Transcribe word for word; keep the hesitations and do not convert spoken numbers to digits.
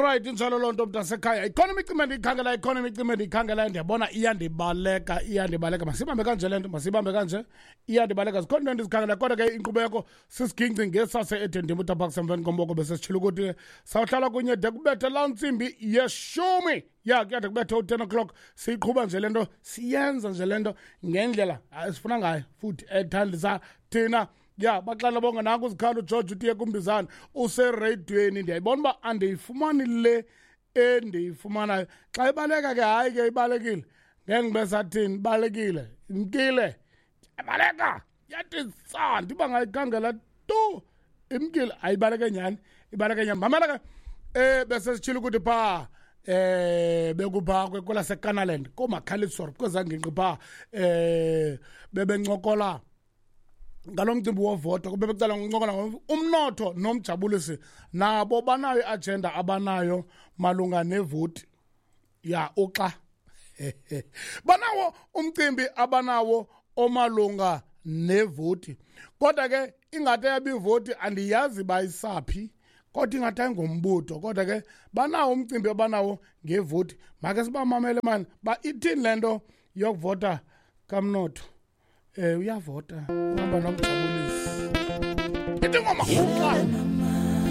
Right, injalo loo nto, mntasekhaya. Ikhona imicimbi endiyikhangela, ikhona imicimbi endiyikhangela, ndiyabona iyandibaleka, iyandibaleka. Masibambe kanje le nto, masibambe kanje, iyandibaleka. Zikhona into endizikhangela, kodwa ke inkqubeko sisigingci ngesase eDendimuta Park semveni komboko. Besesitshilo ukuthi sawuhlala kunye de kubethe laa ntsimbi yeshumi. Ya, kuyade kubethe u-ten o'clock. Siyiqhuba nje le nto, siyenza nje le nto ngendlela esifuna ngayo futhi ethandisa thina. Ya, baxela bonke. Nanku uzikhalo uGeorge utiye kumbizana usereyidweni. Ndiyayibona uba andiyifumani le endiyifumanayo. Xa ibaleka ke, hayi ke, ibalekile. Ngeke ngibe sathini, ibalekile, imkile, ibaleka yathi sa ndiba ngayikhangela tu, imkile. Ayibaleke nyhani, ibaleke nyhani. Mamela ke, eh bese sitshilo ukuthi phaa eh bekupha kwelaseKanaland, kooMakhalisor, kwezaa ngingqi phaa, eh bebencokola ngalo mcimbi wovoto. Kube becala ngokuncokola umnotho nomjabulisi. Nabo banayo i-agenda abanayo malunga nevoti. Ya, uxa banawo umcimbi abanawo omalunga nevoti, kodwa ke ingathi yabi ivoti andiyazi bayisaphi, kodwa ingathi ayingombutho, kodwa ke banawo umcimbi abanawo ngevoti. Make sibamamele mani ba ithini le nto yokuvota kamnotho. Eh uyavota, uhamba nomjabulisi. Ithi ingoma uxa.